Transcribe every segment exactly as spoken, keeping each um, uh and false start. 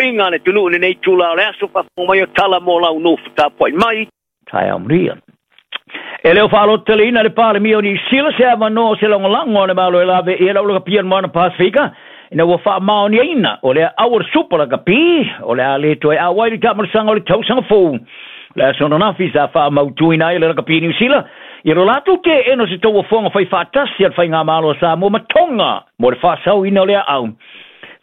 tapuaiga a le atunuu i lenei itulā o le aso faafofoga mai o tala mo lau nofo tapuai mai taeao manuia. E le o faalototeleina le Palemia o Niu Sila se avanoa o se lagolago a le Malo e lave i ai le aulakapia le Moana Pasefika ina ua faamaoniaina o le aau o le Supa Lakapi o le a le toe auai le taamalosaga o le tausaga fou. Le aso ananafi sa faamautuina ai le lakapi Niu Sila ia lo latou teena o se tauofoga faifaatasi a le faigamalo a Samoa ma Tonga mo le faasaoina o le aau.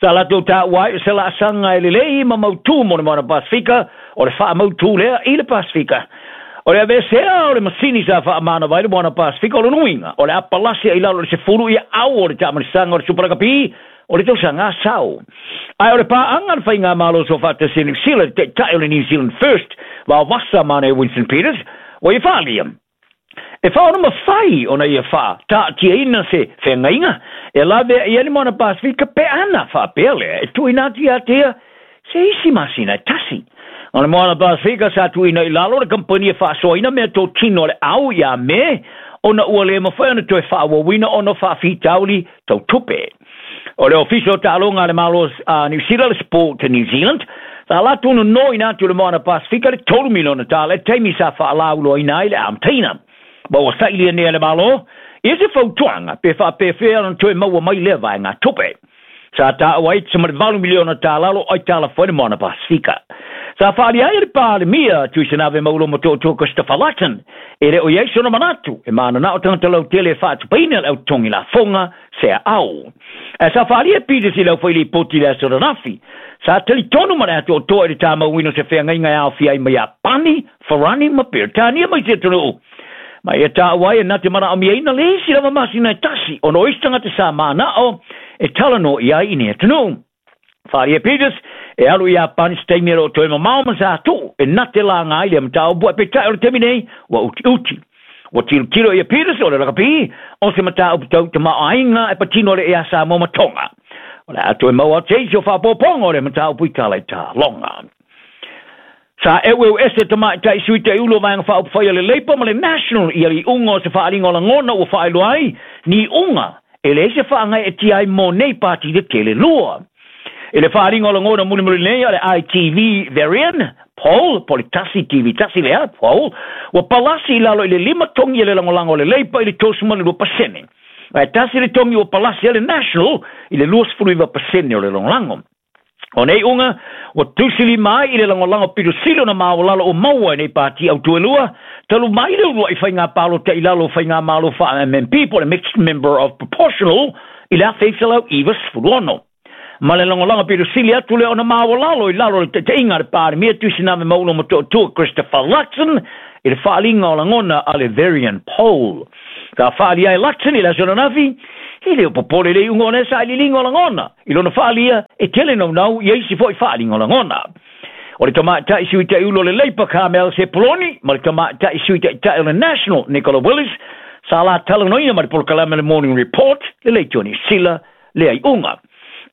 Sa latou taua ai o se laasaga e lelei ma mautū mo le Moana Pasefika o le faamautū lea i le Pasefika. O le aveesea o le masini sa faamanava ai le Moana Pasefika o lona uiga o le a palasi ai i lalo i le sefulu ia au o le taamalisaga o le Supa Lakapi o le tausaga asao. Ae o le paaga a le faigamalo soofaatasi a Niu Sila, le taitai o le New Zealand First vaovasa ma nei Winston Peters, ua ia faaalia e faaona mafai ona ia faataatiaina se feagaiga e lavea i ai le Moana Pasefika pe ana faapea lea e tuuina atu ia te ia se isi masina e tasi. O le Moana Pasefika sa tuuina i lalo le kamupani e faasoaina meatotino a le au ia Me ona ua le mafai ona toe faaauauina ona o faafitauli tau tupe. O le Ofisa o Taaloga a le Malo a Niu Sila, le Sport New Zealand, sa latou nonoina atu le Moana Pasefika le tolu miliona tala i le taimi sa faalauiloaina ai le amataina. Ma ua sailia nei e le Malo ia se fautuaga pe faapefea ona toe maua mai lea vaega tupe. Sa taua ai tama le valu miliona tala o lo o aitalafu ai le Moana Pasefika. Sa faaalia ai e le Palemia Tuisanave Maulo Motootua Christopher Luxon e le o i ai sona manatu e mananao tagata lautele e faatupeina le au totogi lafoga se aau. Ae sa faaalia e Peters i le aufailipoti i le aso ananafi. Sa talitonu ma le atoatoa i le tamauina o se feagaiga e aofia ai ma Iapani, Farani ma Peretania ma isi atunuu. Ma ia taua ai e na te manaomiaina le isi lava masina e tasi ona o isi tagata sa manao e talanoa i ai i nei atunuu. Faaalia Peters e alu i Iapani se taimi e le o toe mamao ma sa tuu e na te laga ai lea mataupu ae peitai o le taimi nei ua utiuti. Ua tilotilo ia Peters o le lakapi o se mataupu tau tamaoaiga e patino le ea Samoa ma Tonga. O le a toe maua atu se isi o faaopoopoga o le mataupu i tala i taaloga. Sa eueu ese tamaitai sui taiulu o Vaega Faaupufai a le Labour ma le National i le iuga o se faaaliga o lagona ua faailoa ai ni iuga e leai se faagaeetia ai mo nei pati tetele lua. I le faaaliga o lagona mulimuli nei a le I T V Verian Poll, po o le tasi T V tasi lea, poll, ua palasi i lalo i le lima togi e le lagolago a le Labour i le tolusefulu ma le lua pasene. Ae tasi le togi ua palasi ai le National i le luasefulu iva pasene o le lagolago. O nei iuga, ua tusilima ai i le lagolago pito sili ona maualalo o maua i nei pati autu e lua, talu mai le uluai faiga palota i lalo o faigamalo faa-M M P po o le Mixed Member of Proportional i le afe iva selau iva sefulu ono. Ma le lagolago pito sili atu lea ona maualalo i lalo o le taitaiga a le Palemia Tuisanave Maulo Motootua Christopher Luxon i le faaaliga o lagona a le Verian Poll. Sa faaalia ai Luxon i le aso ananafi, e le o popole le iuga o lea sailiiliga o lagona. I lona faalia, e tele naunau ia isi foi faaaliga o lagona. O le tamaitai sui taiulu o le Labour Carmel Sepuloni ma le tamaitai sui taitai o le National Nicola Willis sa la talanoina ma le polokalame le Morning Report le leitio Niu Sila lea iuga.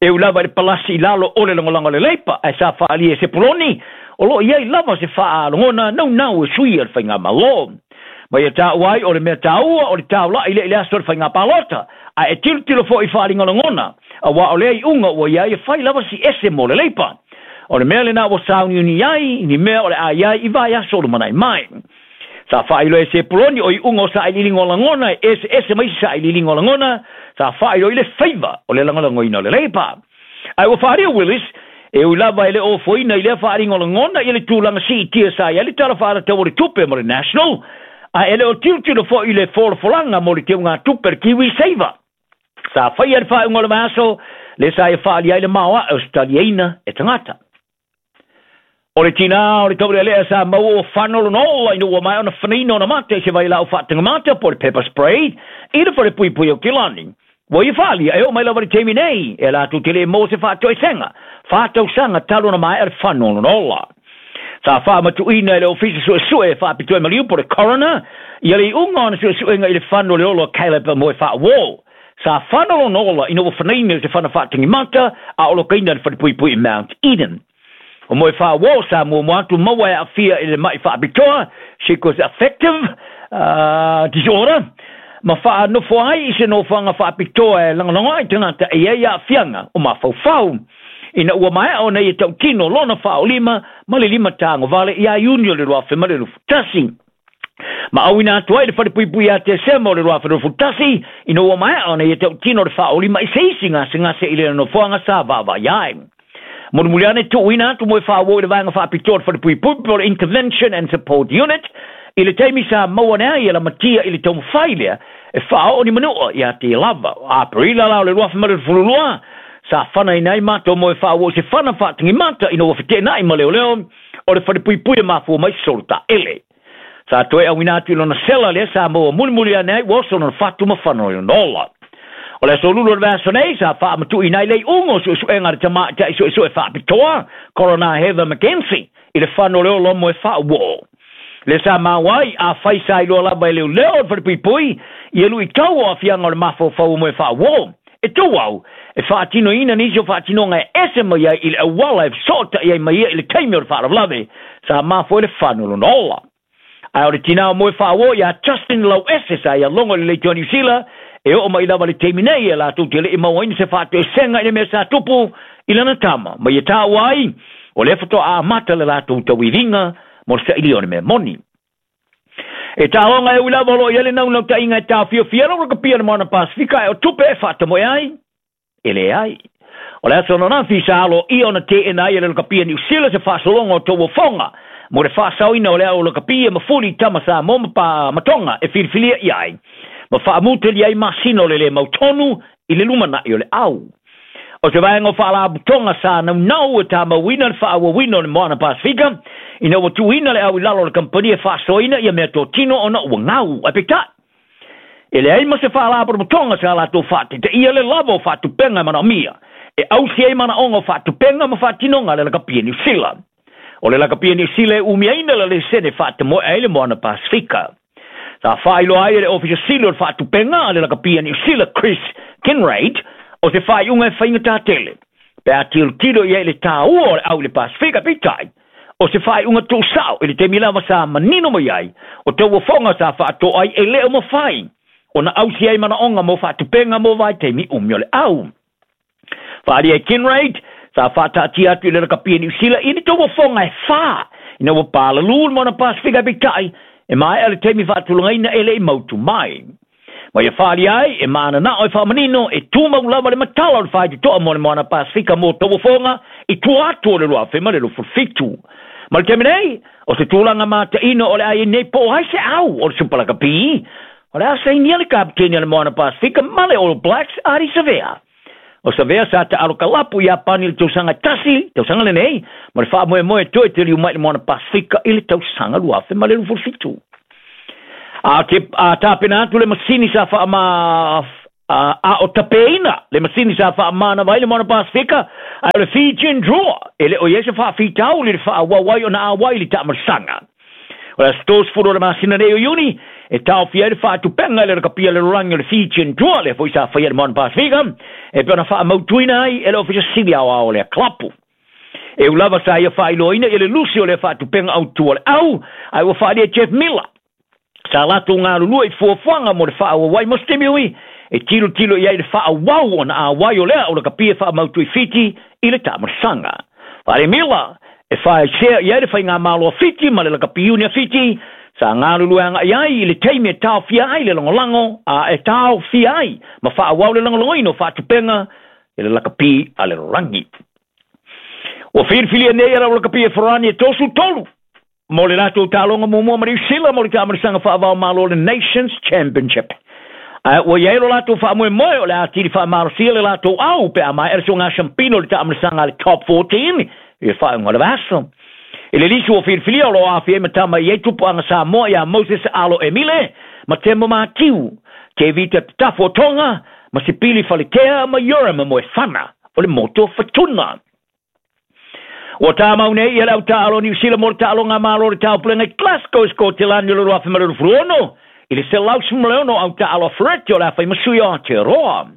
E ui lava i le palasi i lalo o le lagolago a le Labour ae sa faalia e Sepuloni o lo o i ai lava se faalogona naunau e sui a le faigamalo. Ma ia taua ai o le mea taua o le taulai lea i le aso o le faiga palota, ae e tilotilo foi i faaaliga o lagona, auā o lea iuga ua i ai e fai lava si ese mo le Labour. O le mea lena ua sauniuni ai ni mea o le a i ai i vaiaso o lumanai mai. Sa faailoa e Sepuloni o iuga o sailiiliga o lagona e eseese ma isi sailiiliga o lagona, sa faailoa i le faiva o le lagolagoina o le Labour. Ae ua faaalia Willis, e ui lava e le ofoina i lea faaaliga o lagona ia le tulaga siitia sa i ai le Tala Faatatau o le Tupe mo le National, ae e le o tilotilo foi i le folafolaga mo le teugatupe le Kiwi Saver. Sa faia le faaiuga o le vaiaso, le sa ia faaalia ai le maoae o se taliaina e tagata. O le tinā o le taulealea sa maua ua fano lona ola ina ua maea ona fanaina ona mata i se vailaau faatagamata po o le pepper spray i le falepuipui o Kilani. Ua ia faaalia e oo mai lava i le taimi nei e latou te le maua se faatoesega fa tausaga talu ona maea le fano o lona ola. Sa faamatuuina e le Ofisa Suesue e faapitoa i maliu po o le coroner ia le iuga ona suesuega i le fano o le ola o Caleb Moe Faauo. Sa fano lona ola ina ua fanaina i se fana faatagimata a o lokaina i le falepuipui i Mount Eden. O Moe Faauo sa muamua atu maua e aafia i le mai faapitoa, psychoaffective uh, disorder, ma faanofo ai i se nofoaga faapitoa e lagolago ai tagata e i ai aafiaga o mafaufau. Ina ua maea ona ia tautino lona faaolima ma le lima tagovale ia Iuni o le lua afe ma le lufutasi. Ma auina atu ai le falepuipui ia Tesema o le lua afe lufutasi, ina ua maea ona ia tautino le faaolima i se isi gasegase i le nofoaga sa vaavaai ai. Mulimuli ane tuuina atu mo e faauo i le vaega faapitoa o le falepuipui po o le Intervention and Support Unit, i le taimi sa maua ane ai e lamatia i le taumafai lea e faaoo ni manua ia te lava. Aperila la o le lua afe ma le lufululua, sa fanaina ai matou mo e faauo i se fana faatagimata ina ua feteenai ma leoleo o le falepuipui e mafua mai solo taele. Sa toe auina atu i lona sela lea sa maua mulimuli ane ai ua oso lona fatu ma fana o lona ola. O le aso lulu o le vaiaso nei sa faamatuuina ai le iuga o suesuega a le tamaitai suesue faapitoa Coroner Heather McKenzie i le fana o le ola mo e faauo. Le sa maua ai afai sa iloa lava e leoleo o le falepuipui ia luitau o aafiaga o le mafaufau mo e faauo. E tuu au e faatinoina nisi o faatinoga e ese mai ai i le auala e fesootai ai mai ia i le taimi o le faalavelave sa mafua ai le fana o lona ola. Ae o le tinā o moe faauo ia Justin Lauese sa ia logo i le leitioa Niu Sila e oo mai lava le taimi nei e latou te le'i mauaina se faatoesega i le mea sa tupu i lana tama. Ma ia taua ai o lea faatoa amata le latou tauiviga mo le sailia o le mea moni. E taaloga e ui lava o loo i ai le naunautai e taofiofia lau rakapia le Moana Pasifika e o tupe e faatamoe ai, e leai. O le aso ananafi sa aloaia ona teena ai e le rakapia Niu Sila se faasologa o tauofoga mo le faasaoina o le ao lakapia ma fuli tama Samoa ma pa matonga e filifilia i ai. Ma faamutali ai masina o le le mautonu i le lumanai o le au. O se vaega o faalapotoga sa naunau e tamauina le faaauauina o le Moana Pasifika, ina ua tuuina le au i lalo o le kampani e faasoaina ia mea totino ona ua gau. Ae peitai, e leai ma se faalapotopotoga sa latou faataitaia le lava o faatupenga e manaomia, e ausi ai manaoga o faatupenga ma faatinoga a le lakapia Niu Sila. O le lakapia Niu Sila e umiaina le lesene faatamoe ai le Moana Pasifika. Sa faailoa ai e le Ofisa Sili o le faatupenga a le lakapia Niu Sila Chris Kinraid, o se faaiuga e faigatā tele. Pe a tilotilo i ai le tāua o le au i le Pasifika, peitai, o se faaiuga tuusao i le taimi lava sa manino mai ai, o tauofoga sa faatoa ai e le o mafai, ona ausi ai manaoga mo faatupenga mo vaitaimi umi o le au. Faaalia e Kinraid, sa faataatia atu i le lakapia Niu Sila i ni tauofoga e whā, ina ua pālalū le Moana Pasifika peitai, e maea le taimi faatulagaina e le i mautu mai. Ma ia whaali ai, e maana nao e whaamanino, e tūmau lava le matala o le whaitotoa mo le Moana Pasifika mo tauofoga i tua atu o le lua afe ma le lufu fitu. Ma le taimi nei, o se tulaga mataino o le ai nei po o ai se au o le Supalakapi, o le a sainia le kapiteni a le Moana Pasifika ma le All Blacks Ardie Savea. O Savea sa taalo kalapu i Iapani i le tausaga tasi, tausaga lenei, ma le faamoemoe toe teliu mai le Moana Pasifika i le tausaga lua afe ma le lufu fitu. A te a tapena atu le masini sa faama a, a o tapeina le masini sa faamana vai le Moana Pasifika a o le Fijian Drua e le o ia se faafitauli le faaauau ai ona auai i le taamalosaga. O le aso tolusefulu o le masina nei o Iuni e taofia ai le faatupenga i le rakapia le lalolagi o le Fijian Drua lea foi sa faia le Moana Pasifika e pei ona faamautuina ai e le Ofisa Sili Aoao o lea kalapu. E ui lava sa ia faailoaina ia le lusi o lea faatupenga autū o le au, ae ua faaalia e Jeff Miller sa latou galulue i fuafuaga mo le faaauau ai mo se taimi ui e tilotilo i ai le faaauau ona auai o lea o le kapia faamautu i Fiti i le taamalosaga. Faale Miller e faesea i ai le faigamalo a Fiti ma le lakapiuni a Fiti sa galulue agai ai i le taimi e taofia ai le lagolago a e taofia ai ma faaauau le lagolagoina o faatupenga i le lakapi a le lalolagi. Ua filifilia nei e lau lakapi e Farani e tosu tolu mo le latou taaloga muamua ma Niu Sila mo le taamalosaga faavao malo le Nations Championship. Ae ua i ai lo latou faamoemoe o le atili faamalosia le latou au pe a maea le soga siampino o le taamalosaga a le Top fourteen i le faaiuga o le vaiaso. I le lisi ua filifilia o loo aafia ai ma tama i ai tupuaga Samoa ia Moses Alo Emile ma Temo Matiu, Tevita Tatafu o Tonga ma Sipili Faletea ma Urim Moefana o le motu o Futuna. Ua tāmau nei ia le au taalo Niu Sila mo le taaloga malo o le taupulega i Glasgow i Skotelani o le lua afe ma le lufu ono i le selau sefulu ma le ono au taalo a Fereti o le a fai ma sui o Aotearoa.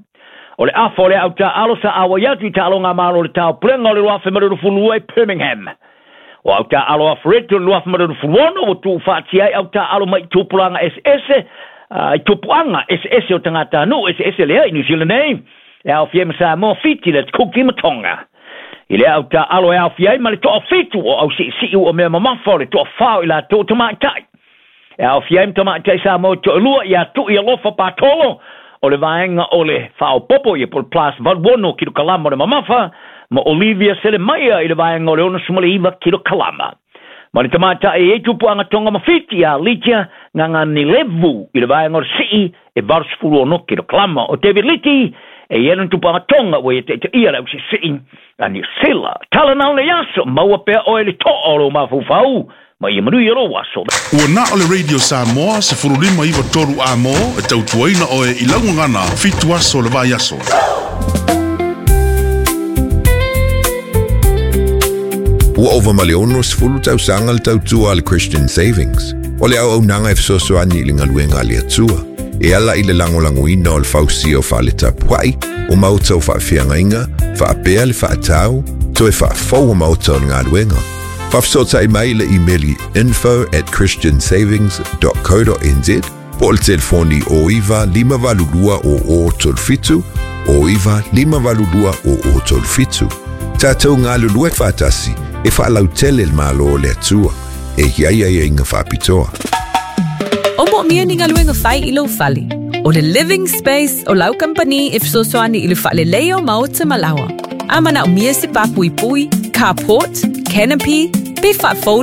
O le afa o le au taalo sa auai atu i taaloga malo o le taupulega o le lua afe ma le lufu lua i Birmingham. O au taalo a Fereti o le lua afe ma le lufu ono ua tuufaatia ai au taalo mai i tupulaga eseese, i tupuaga eseese o tagatanuu eseese lea i Niu Sila nei, e aofia ai ma Samoa, Fiti, le Kuki ma Tonga. I le au taaalo e aofia ai ma le toafitu o ausiisii ua mea mamafa o le toafā o i latou tamaitai. E aofia ai ma tamaitai Samoa e toalua ia Tu'i Alofa Patolo o le vaega o le faaopopo ia po o le plus valu ono kilokalama o le mamafa, ma Olivia Selemaia i le vaega o le ono sefulu ma le iva kilokalama. Ma le tamaitai e i ai tupuaga Toga ma Fiti ia Litia Gaganilevu i le vaega o le sii e valu sefulu ono kilokalama. O David Liti e i ai lona tupuaga Toga ua ia taitaia le ausiisii a Niu Sila. Tala na o le aso, maua pea oe le toa o lou mafaufau ma ia manuia lou aso. Ua na o le Radio Samoa sefulu lima iva tolu A M e tautuaina oe i laugagana fitu aso le vai aso. Ua ova ma le ono sefulu tausaga le tautua a le Christian Savings. O le auaunaga e fesoasoani i le galuega a le Atua. E ala i le lagolagoina o le fausia o faletapua'i, o maota o faafeagaiga, faapea le faatau, toe faafou o maota o le galuega. Faafesootai mai le imeli info at christiansavings dot co dot N Z po o le telefoni o iva lima valu lua o o tolu fitu, o iva lima valu lua o o tolu fitu. Tatou galulue faatasi e faalautele le Malo o le Atua. E i ai aiaiga faapitoa. O moomia ni galuega fai i lou fale. O le Living Space o lau kampani e fesoasoani i le faaleleia o maota ma laoa. A manaomia se papuipui, carport, canopy, pe faafou.